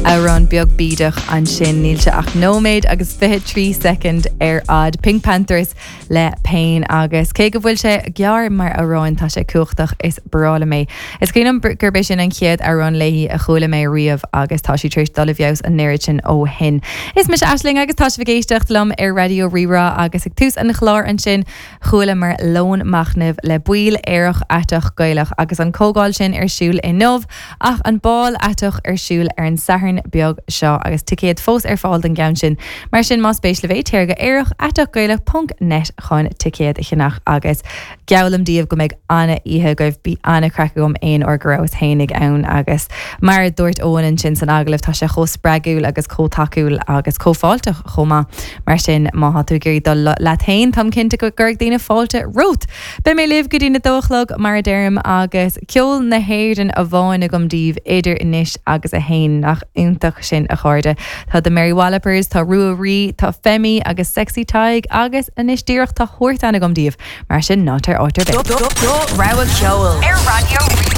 Amhrán beag bídeach ansin, níl sé ach nóiméad agus 23 soicind ar fhad. PinkPantheress le Pain agus cé go bhfuil sé gearr mar amhrán tá sé cumhachtach, is breá liom é. Is cuimhin liom gurb é sin an chéad amhrán léi a chuala mé riamh agus tá sí tar éis dul i bhfeabhas an oiread sin ó shin. Is mise Aisling agus tá sibh ag éisteacht liom ar Raidió Rí-Rá agus ag tús an chláir ansin Chualamar Lón Machnaimh le baill Aerach Aiteach Gaelach agus an comhdháil sin ar siúl inniu ach an Bál Aiteach ar siúl ar an Satharn beag seo agus ticéid fós ar fáil don gceann sin. Mar sin más spéis libh é téir go aerachaiteachgaelach ponc net chun ticéad a cheannach agus geallaim daoibh go mbeidh ana-oíche agaibh. Bhí ana-chraic agam aon uair go rabhas fhéinig ann agus mar a dúirt Eoin ansin san agallamh tá sé chomh spreagúil agus chomh tacúil agus chomh fáilteach chomh maith. Mar sin, má tá tú ag iarraidh dul leat féin, táim cinnte go gcuirfidh daoine fáilte romhat! Beidh mé libh go dtí na dó a chlog, mar a deirim, agus ceol na hÉireann amháin agam daoibh idir anois agus a haon. Nach iontach sin, a chairde? Tá The Mary Wallopers, tá Rua Rí, tá Femi agus Sexy Tadhg agus anois díreach tá Huartan agam daoibh. Mar sin, ná téir áit ar bith. Do rogha ceoil ar Raidió Rí-Rá.